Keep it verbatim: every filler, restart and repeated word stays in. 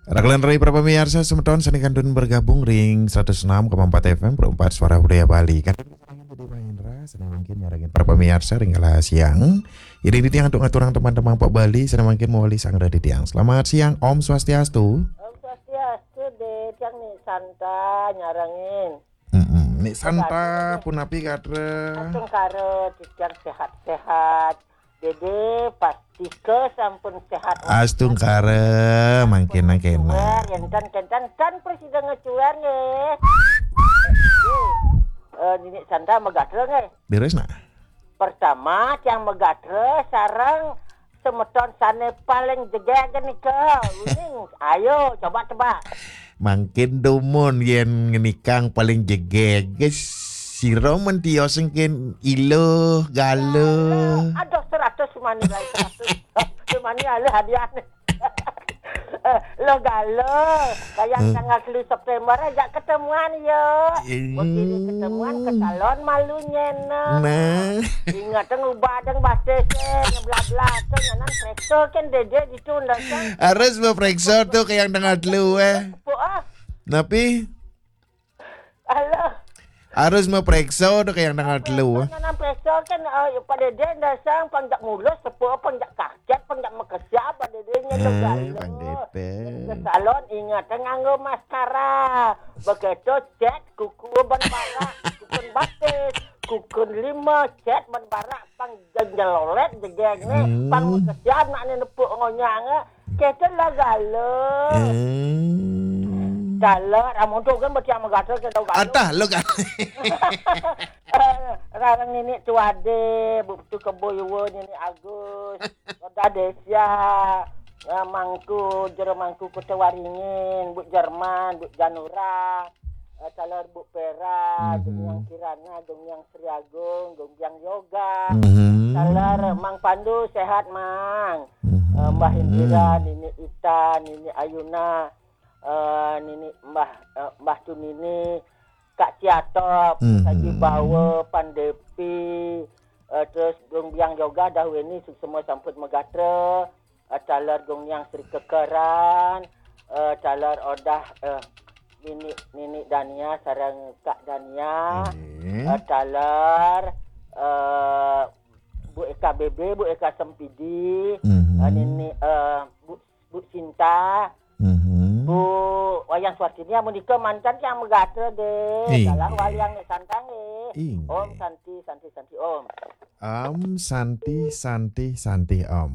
Raglan rai para pamiarsa semeton sane kantun bergabung ring seratus enam koma empat F M, Pro empat Suara Budaya Bali. Kan Dede Mahendra, sane mangkin nyarengin para pamiarsa ring galah siang. Iring titiang antuk ngaturang teman-teman Pak Bali, sane mangkin mawali sangra titiang. Selamat siang, Om Swastiastu. Om Swastiastu, Dé. Tiang Ni Santa nyarengin. Mm-mm. Ni Santa, punapi gatra? Astungkara, titiang sehat-sehat. Dede, pastika sampun sehat. Astungkara, mangkin nang kena. Enten, enten, tan prasida ngacuer nggih. Eh, Nini Santa magatra nggih. Beres, Nak? Pertama, tiang magatra sareng semeton sane paling jegeg nika. Uning, ayo coba tebak. Mangkin dumun yen ngenikang paling jegeg, sira men tios engkin iluh, galuh. Aduh, seratus mani lai, seratus. Mani alih hadiahne. Eh, lo galuh, kayang Hmm. tanggal telu September ajak ketemuan ya. Hmm. Begini ketemuan ke salon malu nyena. Nah. Ingat ngubah deng batis, eh, ngeblak-blak tu nyanan preksa kan dede gitu ndak kan. Harus mau preksa tu kayang tanggal telu, eh. Tepuk ah. Napi? Alah. Harus mau preksa tu kayang tanggal telu, eh. Nyanan preksa kan, eh, pada dia ndak sang panjak mulus, tepuk panjak kaket, panjak makesiap, pada dia nya Eh, galuh. Pang depet. Ke salon ingat nganggo maskara. Begitu cat kuku ban barak, kuku batis, kuku lima, cat ban barak, pang jelolet jegeg ne, Hmm. pang makesiap nak ne nepuk ngonyang, eh. Kete lah galuh. Eh. Galuh, amun tu kan betiang magatra ke tau galuh. Atah, lo kan. Rarang Nini Tuade, Bu Putu Kebo Yuwa, Nini Agus, Roda Desia, eh, Mangku, Jero Mangku Kota Waringin, Bu Jerman, Bu Janura, eh, taler Bu Pera, Mhm. Gong Yang Kirana, Gong Yang Sri Agung, Gong Yang Yoga, Mhm. taler Mang Pandu, sehat, Mang. Mhm. Eh, Mbah Indira, Nini Ita, Nini Ayuna, eh, Nini Mbah, eh, Mbah Tunini, Kak Ciatop, Mhm. Saji Bawa, Pandepi, eh, terus Gong Biang Yoga, Dahweni, semua sampun magatra, eh, taler Gong Yang Sri Kekeran, eh, taler Odah, eh, Nini, Nini Dania, sareng Kak Dania, Nggih. Eh, taler, eh, Bu Eka B B, Bu Eka Sempidi, Mhm. eh, Nini, eh, Bu, Bu Sinta, Mhm. Bu Wayan Suartini, amun nika mantan yang magatra deh. Inggih. Galah waliang nek santang eh. Inggih. Om Santi, Santi, Santi, Om. Om Santi, Santi, Santi, Om.